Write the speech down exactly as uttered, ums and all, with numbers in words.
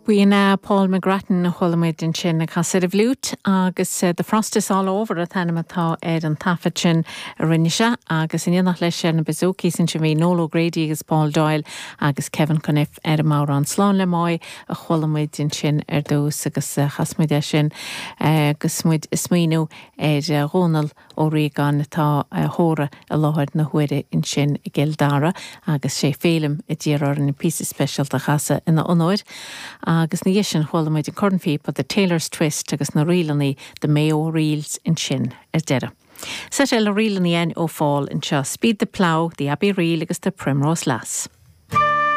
B'in é Paul McGrattan a chuala muid ansin ag casadh ar an bhfliúit agus uh, The Frost is all over an t-ainm atá ar an taifead sin a rinne sé agus in éineacht leis ar na bouzouki sin bhí Noel O'Grady agus Paul Doyle agus Kevin Conniff ar an mbodhrán Slán le Máigh a chuala muid ansin ar dtús agus uh, chas muid é sin uh, agus muid ag smaoineamh ar uh, Dhónal Ó Riagáin atá uh, thóra i láthair na huaire ansin i gCill Dara agus sé Félim a d'iarr orainn an píosa speisialta a chasadh ina onóir. agus ina dhiaidh sin chuala muid an cornphíopa The Taylor's Twist agus na ríleanna The Mayo Reels ansin ar deireadh. Set eile ríleanna ó Phól anseo Speed the Plough, the Abbey Reel agus the Primrose Lass.